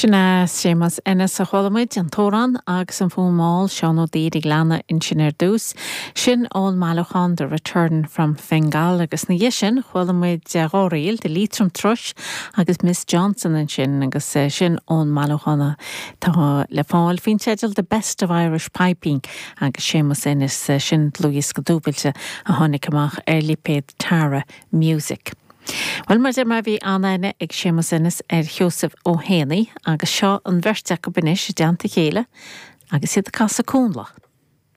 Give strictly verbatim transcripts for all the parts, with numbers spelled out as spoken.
Sin é Séamus Ennis a chuala muid an t-amhrán agus an fuaim Seán Ó Duibhir ag leanadh ansin ar dtús. Sin ón mbailiúchán The Return from Fingal agus ina dhiaidh sin chuala muid dhá ríl de Leitrim Thrush agus Miss Johnson ansin agus sin ón mbailiúchán atá le fáil faoin teideal The Best of Irish Piping agus Séamus Ennis sin dlúthdhiosca dúbailte a tháinig amach ar lipéad Tara Music. Well mar deir mar bhí an-aithne ag Séamus Ennis ar Sheosamh Ó Héanaí agus seo an bheirt acu anois i dteannta a chéile agus iad ag casadh Connla.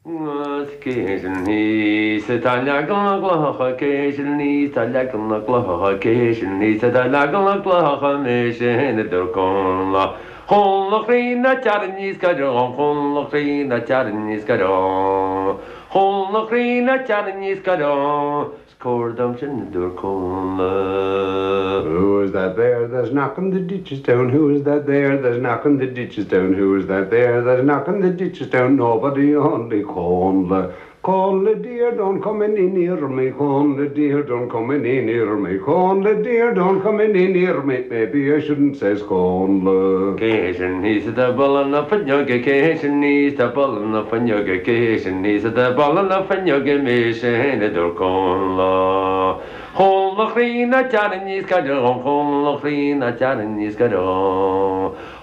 Cé ní sa tá legan na gclocha cé ní tá legan na gclocha cé ní sa tá legan na gclocha mé sin a dúirt Connla. Chonla chrína tear níos go chonla chrína tear níos go Chonla chrína tear níos go Cóir sin dúirt Connla. Who is that there that's knocking the ditches down? Who is that there that's knocking the ditches down? Who is that there that's knocking the ditches down? Nobody only Connla. Connla dear, don't come any near me. Connla dear, don't come any near me. Connla dear, don't come any near me. Maybe I shouldn't says Connla. Cé sin thíos atá ag bualadh na fuinneoige cé sin thíos atá ag bualadh na fuinneoige cé sin thíos atá ag bualadh na fuinneoige mise féin a dúirt Connla. Chonla chríonna tear níos go Chonla chríonna tear níos go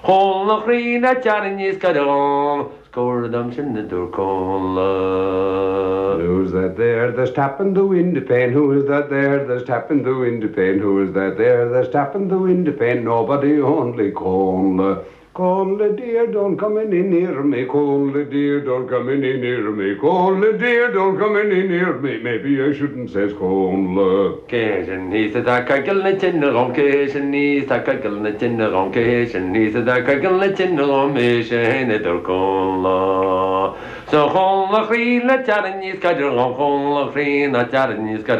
Chonla chríonna tear níos go Cóir dom sin a dúirt Connla. Who's that there that's tapping the window pane? Who is that there that's tapping the window pane? Who is that there that's tapping the window pane? Nobody only Connla. Connla dear, don't come any near me. Connla dear, don't come any near me. Connla dear, don't come any near me. Maybe I shouldn't says Connla. Cé sin thíos atá ag coigilt na tine dhom cé sin thíos atá ag coigilt na tine dhom cé sin thíos atá ag coigilt na tine dhom mise féin a dúirt Connla. So Chonla chríonna tear níos go Chonla chríonna tear níos go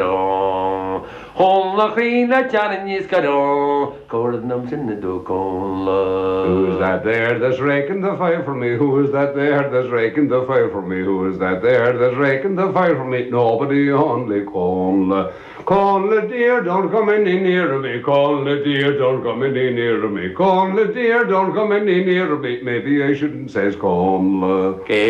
Chonla chríonna tear níos go Cóir dom sin a dúirt Connla. Who's that there that's raking the fire for me? Who is that there that's raking the fire for me? Who is that there that's raking the fire for me? Nobody only Connla. Connla dear, don't come any near me. Connla dear, don't come any near me. Connla dear, don't come any near me. Maybe I shouldn't says Connla. Cé